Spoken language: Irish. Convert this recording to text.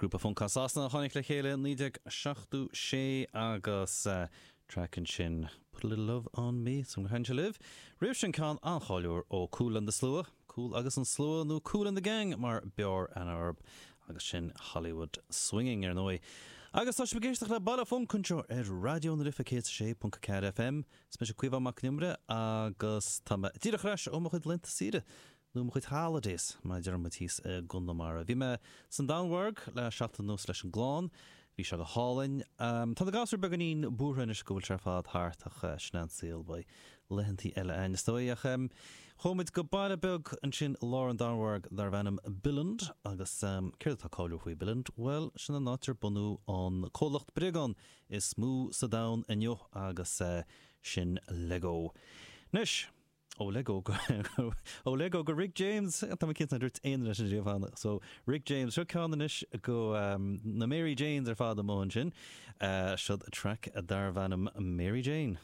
Grúpa func as Sasana a tháinig le chéile i 1976 agus traic ansin Put a Little Love on Me, súil agam gur thaitin sé libh. Roimh sin ceann an-cháiliúil ó Kool and the Slua, Kool agus an Slua nó Kool and the Gang mar b'fhearr aithne orthu agus sin Hollywood Swinging ar ndóigh. Agus tá sibh ag éisteacht le Baile Func anseo ar Raidió na Life 106.4 FM. Is mise Caomhán Mac Con Iomaire agus tá mé díreach ar ais ó mo chuid laethanta saoire. nó mo chuid holidays, mar a deir muid thíos i gConamara. Bhí mé san Danmhairg le seachtain anuas leis an gclann. Bhí sé go hálainn. Tá na gasúir beagáinín buartha anois go bhfuil sé ar fad thart ach sin é an saol, beidh laethantaí eile againn is dóigh. Ach chuaigh muid go baile beag ansin i lár an Danmhairg darbh ainm Billund agus céard atá cáiliúil faoi Billund? Bhuel, sin an áit ar bunú an comhlacht bréagán is mó sa domhan inniu agus sin Lego. Anois! Ó Lego go Ó Lego go Rick James! Tá mé cinnte nár dúirt aon duine sin riamh cheana. So, Rick James. Seo ceann anois go na Mary Janes ar fad amuigh ansin. Seod track darbh ainm Mary Jane.